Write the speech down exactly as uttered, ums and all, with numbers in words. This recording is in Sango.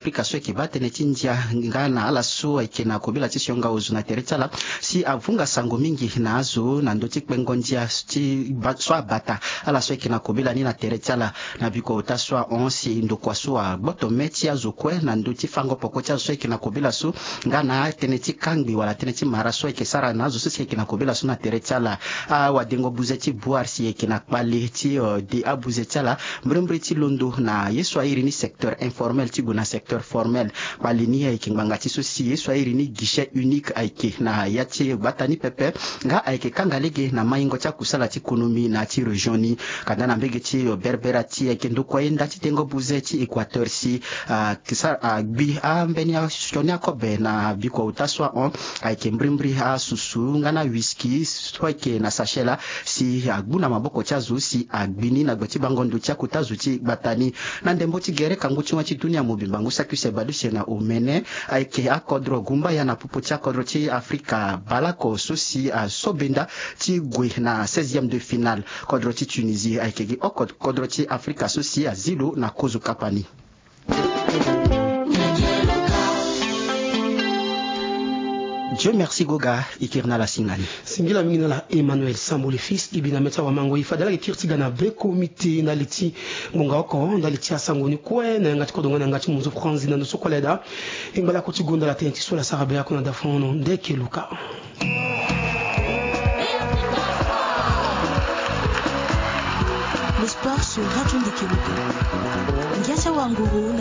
Afrika so ayeke baa tënë ti ndia nga na ala so ayeke na kobela ti sionga ozo na tere ti ala, si avunga sango mingi na azo na ndö ti kpengo ndia ti ba- so abata ala so ayeke na kobela ni na tere ti ala. Na biko ota so ahon si ndokua so agboto me ti azo kue na ndö ti fango poko ti azo so ayeke na kobela so, nga na tënë ti kangbi wala tënë ti mara so ayeke sara na azo so si ayeke na kobela so na tere ti ala. Awadengo buze ti boire si ayeke na kpale ti, eh, de abuze ti ala mbrimbri ti londo na ye so airi ni secteur informel ti gue na secteur formel. Kpale ni ayeke ngbanga ti so si ye so airi ni guichet unique ayeke na ya ti gbata ni pepe, nga ayeke kanga lege na maingo ti akusala ti konomi na ya ti région ni. Kanda na mbege ti, eh, berbera ti ayeke ndokua ye nda ti dengo buze ti Équateur si, ah, kisa, ah, gbi ambeni asioni akobe na biko ota so ahon ayeke mbrimbri asusu nga na whisky so ayeke na sachet laa, si agbu na maboko ti azo si agbi ni na gbe ti bango ndo ti akota zo ti gbata ni. Na ndembo ti gere kangu ti wâ ti dunia mobimba ngu saki use baleuse na omene ayeke akodro gumbaya na popo ti akodro ti Afrika baleoko so si aso benda ti gue na seizième de finale. Kodro ti Tunisie ayeke gi oko kodro ti Afrika so si azi lo na kozo kapa ni. Dieu merci Goga, e kiri na ala si ngani. Singila mingi na ala Emmanuel Sambo le fils, e bi na mê ti awamango e fade ala yeke kiri ti ga na be komite ndali ti ngonga oko ndali ti asango ni kue na yanga ti kodro nga na yanga ti monzo franzi na ndo so kue ala yeda. E ngba lakue ti gonda ala tënë ti so ala sara be oko na dafono ndeke luka. Le sport sur Radio Ndeke Luka. Ngia ti awanguru.